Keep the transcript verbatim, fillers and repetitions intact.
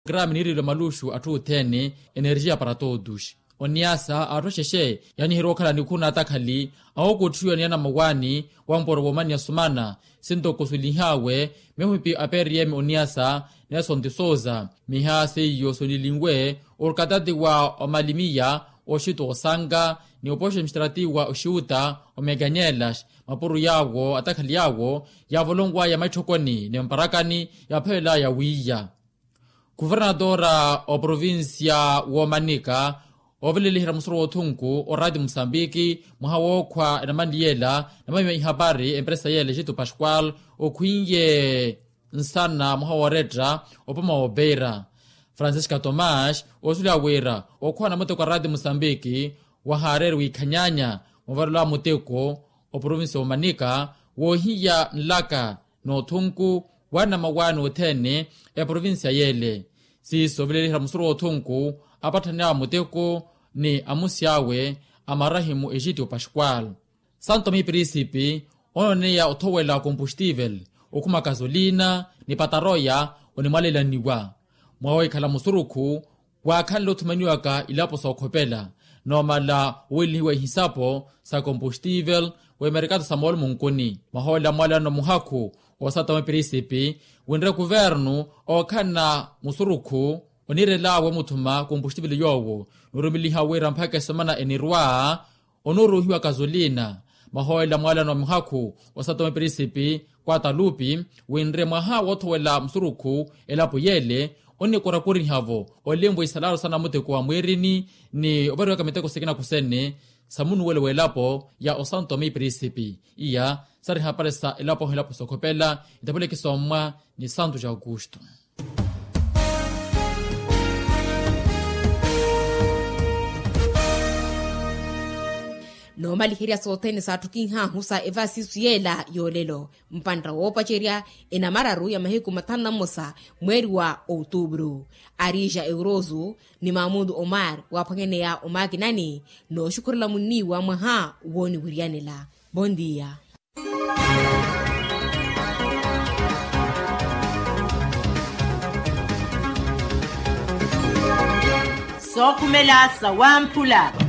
Grami niirilo maluxu atthu othene energia para todos. Oniasa atthu axexe yaaniheriwa okhala nikhu n'atakhali awookuttiwa ni anamawaani wamporo woomaniya sumana sintoko sulinhaawe mihupi a prm oniasa nelson de sousa. Miha seiyo sonilinwe orkatati wa omalimiya oxito osanka ni opoxo administrativo wa oxiuta omeganyelas mapuro yaawo atakhali yaawo yaavolonwaya maitthokoni ni mparakani yaaphavelaya wiiya. Kuvernatora oprovincia woomanika oveleliherya musoro woothunku orati musambiki mwaha wookhwa enamanli yeela namamiwa ihapari empresa yeela egito pascual okhwiiye nsana mwaha wooretta opoma woopeira. Francisca tomas oosuleya wira okhwa namuteko arati musambiki wahaareeri wiikhanyaanya mwavarelo a muteko oprovincia woomanika woohiya nlaka n'othunku wa anamawaani othene eprovincia yeele. Siiso oveleliherya musuru w'othunku apatthaney'awe muteko ni amusi awe amarahimu egitio pascual. Santo mi prisipi onooneya othowela kompustivel okhuma kasolina ni pataroya onimwalelaniwa mwaha wahikhala musurukhu waakhanle othumaniwaka ilapo sookhopela noomala owelinhiwa ihisapo sa kompustivel w'emerikato sa moolumo nkuni. Mwaha ola mwalano muhakhu oosatoma epirisipi winre kuvernu ookhanna musurukhu oniirel'awe omuthuma kompustivel yoowo nuurumeliha wira mpakha esemana enirwa onuuruuhiwa kasolina. Mwaha ola mwalano muhakhu oosatoma epirisipi kwatalupi winre mwaha woothowela musurukhu elapo yeele onikorakorihavo olenvo isalaro sa namuteko wa mwiirini ni ovariwaka miteko sikina kusene sa munuwelo w'elapo ya osanto mi prisipi. Iya sari hapari sa elapo ohilapo sookhopela itapuleke soommwa ni santo ja aukusto. Noomaliherya sothene saattukinhahu sa evasisu yeela yoolelo mpantta woopacerya enamararu ya mahiku mathanu na mmosa mweeri wa outubru. Arija euroso ni mamudu omar waaphwanyaneya omakinani nooxukhurela munniiwa mwaha wooniwiriyanela. Bondia. Sookhumela sawamphula.